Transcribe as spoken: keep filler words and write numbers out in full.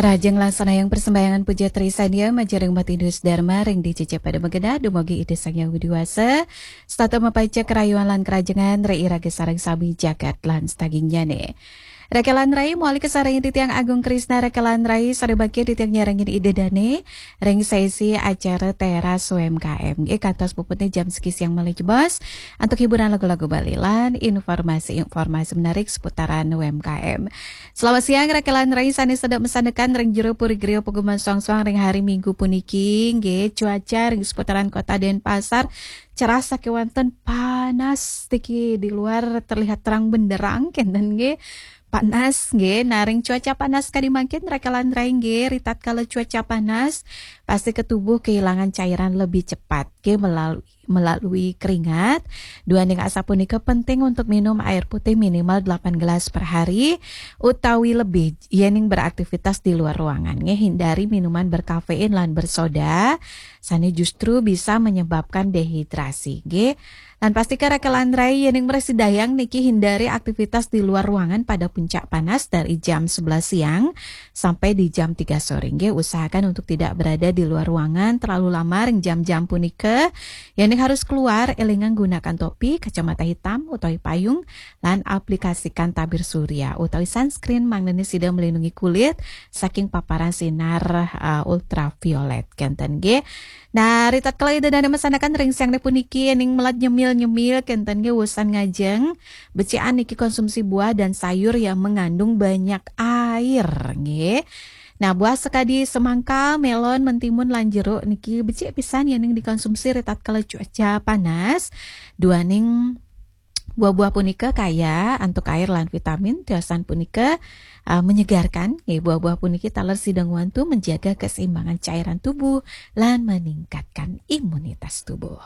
Rahajeng laksana yang persembahyangan puja trisadia majeng ring Umat Hindu Dharma ring dicicip pada magenah dumugi Ida Sang Hyang Widi Wasa, setata mapanca karayuan lan karajengan ring iraga sareng sami jagat lan sadagingnyane. Raka lan rai, mawali kasarengin titiang Agung Krisna, raka lan rai, sane bakya titiang nyarengin Ida Dane ring sesi acara Teras U M K M. Nggih, kantos puputne jam siki siang malih jebos antuk hiburan lagu-lagu Bali lan informasi-informasi menarik seputaran U M K M. Selamat siang, raka lan rai sane sedek masandekan ring jero puri griya paguman soang-soang ring hari Minggu puniki, nggih, cuaca ring seputaran Kota Denpasar cerah sakewanten, panas niki, di luar terlihat terang benderang kenten, nggih. Panas, nggih. Nah, ring cuaca panas kadi mangkin, raka lan rai, nggih, ritatkala cuaca panas, pasti ke tubuh kehilangan cairan lebih cepat, nggih, melalui melalui keringat. Duaning asapunika penting untuk minum air putih minimal delapan gelas per hari utawi lebih yening beraktivitas di luar ruangan, nggih. Hindari minuman berkafein lan bersoda, sane justru bisa menyebabkan dehidrasi, nggih. Lan pastika raka lan rai, yening mresi dayang niki, hindari aktivitas di luar ruangan pada puncak panas dari jam sebelas siang sampai di jam tiga sore, nggih. Usahakan untuk tidak berada di luar ruangan terlalu lama ring jam-jam punika. Yening harus keluar, elingang gunakan topi, kacamata hitam utawi payung, lan aplikasikan tabir surya utawi sunscreen, mangdane sida melindungi kulit saking paparan sinar, uh, ultraviolet, kenten, nggih. Nah, ritatkala Ida Dane masandekan ring siangne puniki, yening melat nyemil-nyemil, kenten, nggih, wusan ngajeng, becikan niki konsumsi buah dan sayur yang mengandung banyak air, nggih. Nah, buah sakadi semangka, melon, mentimun, lan jeruk niki becik pisan yening dikonsumsi ritatkala cuaca panas. Duaning buah-buah punika kaya antuk air lan vitamin, tiosan punika, uh, menyegarkan. Nggih, buah-buah puniki taler sida ngwantu menjaga keseimbangan cairan tubuh lan meningkatkan imunitas tubuh.